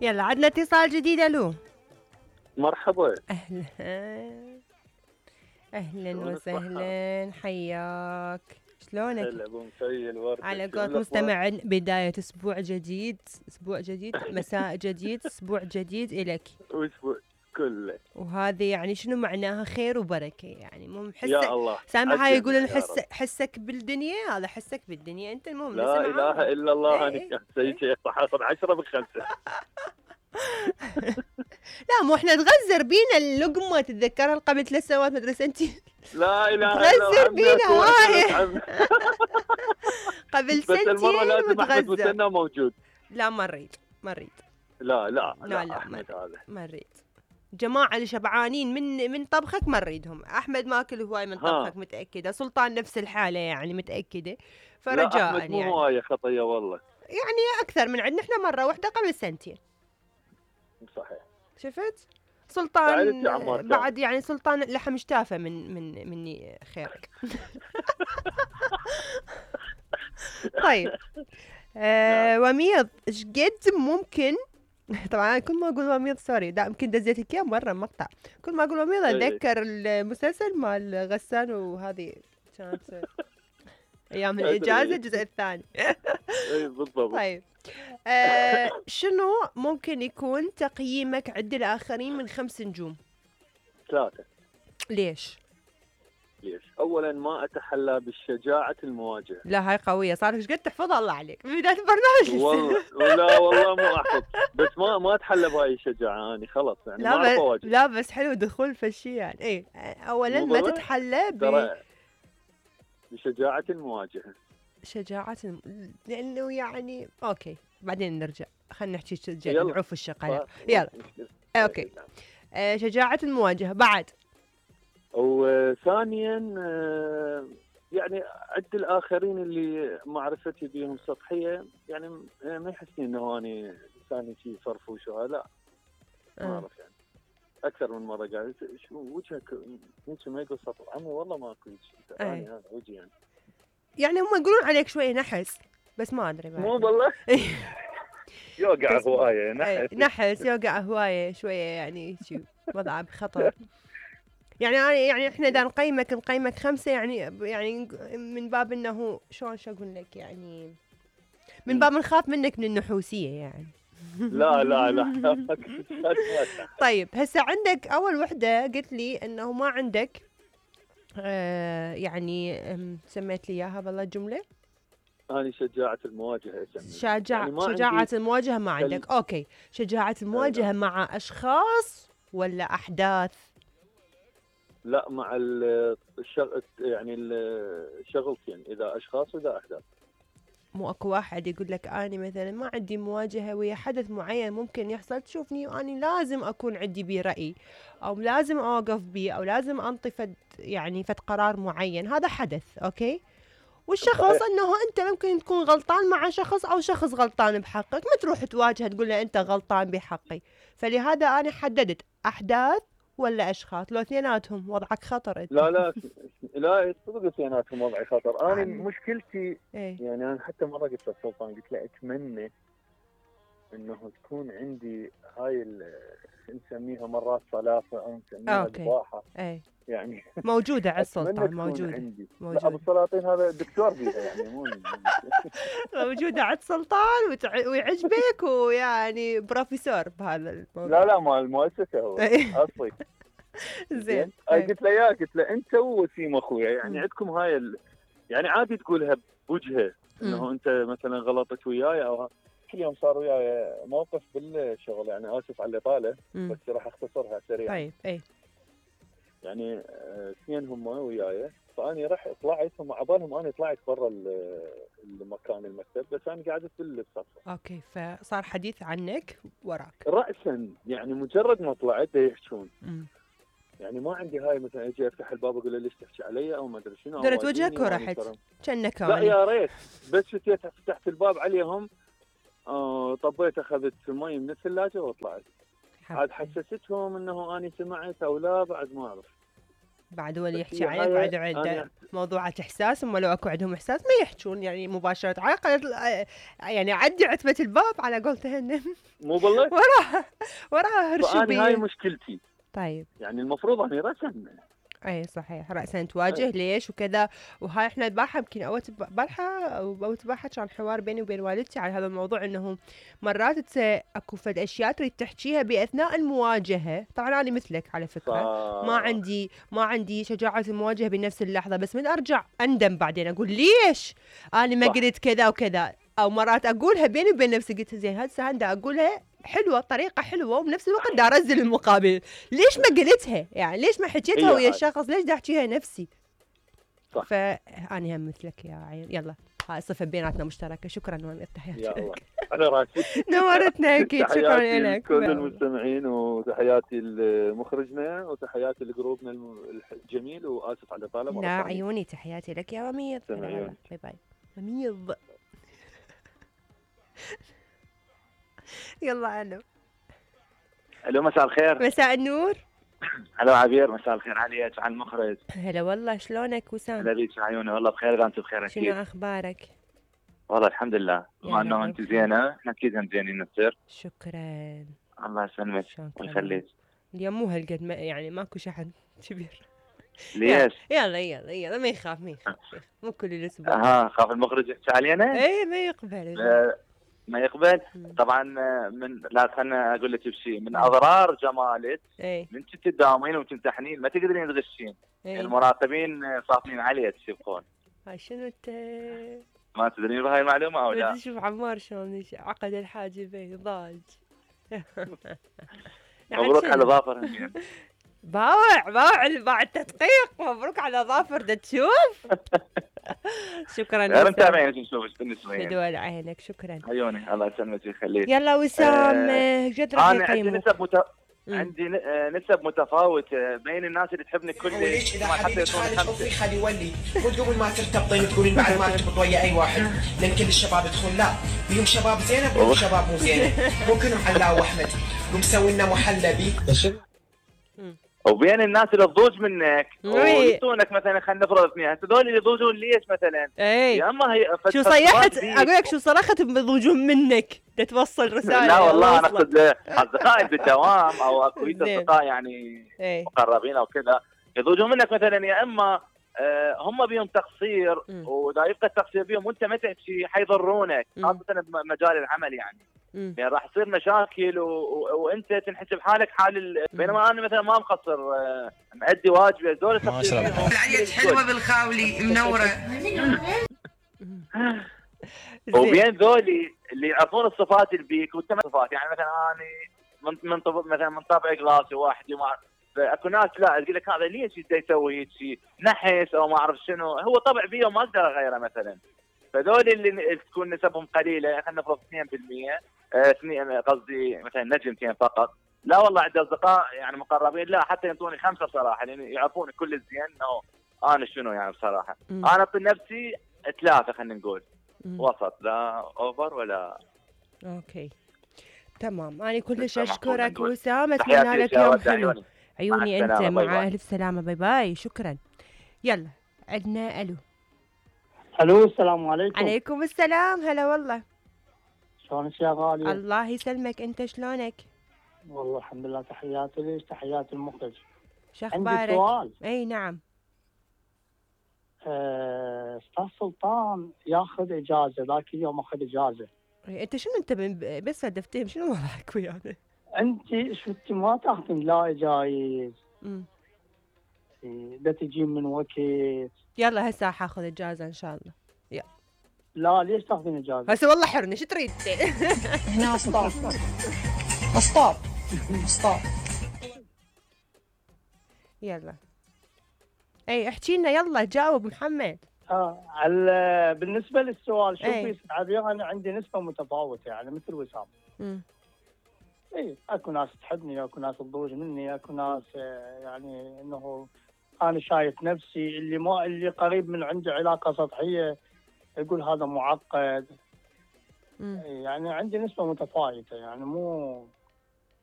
يلا عندنا اتصال جديد. الو مرحبا. اهلا اهلا شلون وسهلا، حياك. شلونك؟ هلا ابو مفيل ورده. على شلون قولة الاخبار؟ مستمع، بداية اسبوع جديد، اسبوع جديد، مساء جديد، اسبوع جديد الك. واسبوع كله وهذه يعني شنو معناها؟ خير وبركة، يعني مو يا حسك. الله سامع هاي عالجميع يقولون يا رب. حسك بالدنيا، هذا حسك بالدنيا، انت المهم لا نسمع اله معاك. الا الله. انا اي كان سيد شيخ حاصل 10 بخمسه. لا مو احنا تغزر بينا اللقمة، تتذكرها قبل 3 سنوات مدري سنتين. لا اله الا الله. تغزر عمي بينا اكو هاي عمي. قبل بس المره سنتين لازم احمد وتغزر. مسنى موجود. لا ما نريد. لا لا لا لا لا احمد هذا ما نريد. جماعة اللي شبعانين من طبخك ما نريدهم. أحمد ماكل هواي من ها. طبخك متأكدة. سلطان نفس الحالة يعني متأكدة. لا فرجاء احمد مو يعني هوايه خطيه والله. يعني أكثر من عندنا إحنا مرة واحدة قبل سنتين. صحيح. شفت؟ سلطان سعدت يا عمار كان. بعد يعني سلطان لحم اشتافه مني خيرك. طيب وميض ايش قد ممكن طبعا أنا كل ما اقول وميض سوري، لا يمكن دزيتك اياه مره مقطع. كل ما اقول وميض اتذكر المسلسل مال غسان، وهذه كانت ايام الاجازه ادري. الجزء الثاني. اي بالضبط. طيب شنو ممكن يكون تقييمك عند الاخرين من 5 نجوم؟ 3. ليش؟ ليش؟ اولا ما اتحلى بالشجاعه المواجهه. لا هاي قويه، صار ايش قد تحفظها الله عليك من بدايه البرنامج. والله لا والله مو احفظ، بس ما اتحلى بهاي الشجاعه اني خلاص يعني ما اعرف اواجه. لا بس حلو دخول فشي يعني. ايه اولا مو ما بالله تتحلى ترى بشجاعه المواجهه. بشجاعة لانه يعني اوكي بعدين نرجع، خلينا نحكي يلا نعوف الشقايا. يلا اوكي. نعم. شجاعة المواجهة بعد. وثانيا يعني عد الاخرين اللي معرفتي بهم سطحيه، يعني ما يحسني انه اني انسان شيء فرفوش وهذا، لا ما اعرف يعني. اكثر من مره قاعد شو وجهك انت ما يقول سطر عمي والله ماكو شيء ثاني هذا وجهي يعني هم يقولون عليك شوي نحس، بس ما ادري بعد. مو بالله يوقع هوايه نحس يوقع هوايه شويه يعني شو وضعه بخطر. يعني احنا اذا نقيمك 5 يعني من باب انه شو اقول لك يعني من باب نخاف منك من النحوسيه يعني. لا طيب هسه عندك اول وحده قلت لي انه ما عندك يعني سميت لي اياها بالله الجمله. أنا شجاعة المواجهة يعني شجاعة المواجهة ما عندك. أوكي، شجاعة المواجهة مع أشخاص ولا أحداث؟ لا مع يعني الشغلتين، إذا أشخاص وإذا أحداث. مو أكو واحد يقول لك أنا مثلا ما عندي مواجهة ويا حدث معين ممكن يحصل تشوفني وأني لازم أكون عندي بيه رأي، أو لازم أوقف بيه، أو لازم أنطي يعني قرار معين. هذا حدث أوكي. والشخص انه انت ممكن تكون غلطان مع شخص او شخص غلطان بحقك، ما تروح تواجهه تقول له انت غلطان بحقي. فلهذا انا حددت احداث ولا اشخاص، لو اثنيناتهم وضعك خطر انت. لا صدق اثنيناتهم وضعي خطر. انا مشكلتي ايه؟ يعني انا حتى مره قلت للسلطان قلت له اتمنى انه تكون عندي هاي نسميها مرات صلافه او نسميها قباحه. ايه يعني موجودة على السلطان، موجودة عندي. موجودة. ابو السلاطين هذا دكتور فيها يعني مو موجودة على السلطان ويعجبك ويعني بروفيسور بهذا الموضوع. لا مال المؤسسة هو اصلي. زين. قلت له انت ووسيم اخويا يعني عندكم هاي يعني عادي تقولها بوجهه انه انت مثلا غلطت وياي او كل يوم صار وياي موقف بالشغل، يعني اسف على الاطاله بس راح اختصرها سريعا. طيب اي يعني اثنين هم وياي، فاني رحت طلعت هم عبالهم انا طلعت برا المكان المكتب، بس انا قاعد بالصف. اوكي، فصار حديث عنك وراك راسا يعني مجرد ما طلعت يحجون. يعني ما عندي هاي مثلا اجي افتح الباب اقول له ليش تحكي علي او ما ادري شنو، درت وجهك ورحت كأنك لا يا ريت بس فتحت الباب عليهم طبيت اخذت مي من الثلاجه وطلعت. عاد حسستهم انه اني سمعت او لا بعد ما اعرف. بعد هو اللي يحكي هي عليك، بعد عنده موضوعات احساس. هم لو اكو عندهم احساس ما يحجون يعني مباشره، يعني عدي عتبه الباب على قولتهن. مو بالله. وراها هرشوا فأنا هاي بيه. مشكلتي. طيب يعني المفروض اني رسم. اي صحيح، رأسا تواجه ليش وكذا. وهاي احنا البارحة يمكن بارحة او تبارحة كان حوار بيني وبين والدتي على هذا الموضوع، انه مرات اكو فد اشياء تريد تحكيها باثناء المواجهة. طبعا انا مثلك على فكرة، ما عندي شجاعة المواجهة بنفس اللحظة، بس من ارجع اندم بعدين اقول ليش انا ما قلت كذا وكذا. او مرات اقولها بيني وبين نفسي، قلت زين هسه هندا اقولها حلوه، طريقه حلوه، وبنفس الوقت دا ارزل المقابل. ليش ما قلتها؟ يعني ليش ما حكيتها ويا الشخص؟ ليش دا احكيها نفسي؟ صح. فاني هم مثلك يا عين. يلا هاي صفه بيناتنا مشتركه. شكرا نوان، تحياتي يا الله على راسي. نورتنا اكيد. شكرا لك كل المستمعين، وتحياتي لمخرجنا، وتحياتي لجروبنا الجميل، واسف على الاطاله. لا عيوني، تحياتي لك يا مميض. باي باي مميض. يلا الو مساء الخير. مساء النور. الو عبير، مساء الخير عليك وعلى المخرج. هلا والله، شلونك وسام؟ هلا بيك عيوني، والله بخير اذا انت بخير اكيد. شنو اخبارك؟ والله الحمد لله، بما انه انت زينه احنا اكيد هم زينين نصير. شكرا. الله يسلمك ويخليك. اليوم مو هالقد يعني ماكو شحن كبير. ليش؟ يلا ما يخاف مو كل الاسبوع. خاف المخرج يحكي علينا؟ ايه ما يقبل. ما يقبل. طبعا لا خلنا اقول لك بشيء من اضرار جمالك. من كنت تداومين وتمتحنين ما تقدرين تغشين. المراقبين صافين عليك يبقون. هاي شنو انت؟ ما تدرين بهاي المعلومه او لا؟ شوف عمار شلون عقد الحاجبين ضاج. مبروك على ظافر. باوع التدقيق. مبروك على ظافر. دا تشوف. شكرا. انا متابعينك نشوفك بالنسبه لي. بدول عينك. شكرا عيوني، الله يسلمك ويخليك. يلا وسام، جد راح يقيموك. عندي نسب متفاوته بين الناس اللي تحبني كل اذا حد يدخل خلي يولي، مو تقولون ما ترتبطين تقولين بعد ما ترتبط ويا اي واحد لان كل الشباب يدخل. لا، بيهم شباب زينه بيهم شباب مو زينه. مو كلهم حلاوه واحمد. قوم سوي لنا محلبي. وبين الناس اللي تضوج منك ويعطونك مثلا، خلينا نفرض اثنين، هذول اللي يضوجون ليش مثلا؟ يا اما هي شو صيحت اقول لك، شو صرخت بيضوجون منك توصل رساله؟ لا والله انا اقصد اصدقائي بالدوام او اكويت اصدقاء يعني مقربين او كذا يضوجون منك مثلا، يا اما هم بيهم تقصير ودا يبقى التقصير بيهم وانت ما تحكي حيضرونك، خاصه بمجال العمل يعني راح تصير مشاكل وانت تنحس بحالك حال بينما انا مثلا ما مقصر، مأدي واجبي. هذول العيد حلوه بالخاولي منوره. وبين ذولي اللي يعرفون الصفات اللي بيك وانت ما صفات، يعني مثلا انا من طبع قلاسي واحد ما اكو ناس لا تقول لك هذا ليش يسوي هيك شيء نحس او ما اعرف شنو، هو طبع بيه وما اقدر اغيره مثلا. فذول اللي تكون نسبهم قليله، خلينا نفرض 2%، قصدي مثلا نجمتين فقط. لا والله عندي اصدقاء يعني مقربين لا حتى ينطوني 5 بصراحه، لان يعني يعرفون كل الزين انه انا شنو يعني بصراحه. انا اعطي نفسي 3 خلينا نقول وسط، لا اوفر ولا. اوكي تمام. انا كلش اشكرك وسام، اتمنى لك يوم حلو. عيوني انت مع الف سلامه. باي باي. شكرا. يلا عندنا الو السلام عليكم. عليكم السلام. هلا والله. شلونك يا غالية؟ الله يسلمك، انت شلونك؟ والله الحمد لله. تحياتي ليش، تحياتي المخرج. شخبارك؟ عندي سؤال. اي نعم. استاذ سلطان ياخذ اجازه، ذاك اليوم اخذ اجازه. انت شنو انت بس هدفتهم شنو وضعك ويانا؟ انت شفتي ما تاخذين لا جايز. دا تجين من وقت. يلا هسه حاخذ اجازه ان شاء الله. يلا. لا ليش تاخذين اجازه؟ هسه والله حرني، شو تريد؟ هنا ستوب ستوب ستوب. يلا اي احكي لنا، يلا جاوب محمد. بالنسبه للسؤال شوفي عبير، انا عندي نسبه متفاوته يعني مثل وسام. اي اكو ناس تحبني، اكو ناس تضوج مني، اكو ناس يعني انه انا شايف نفسي اللي قريب من عنده علاقه سطحيه يقول هذا معقد. يعني عندي نسبه متفاوته يعني مو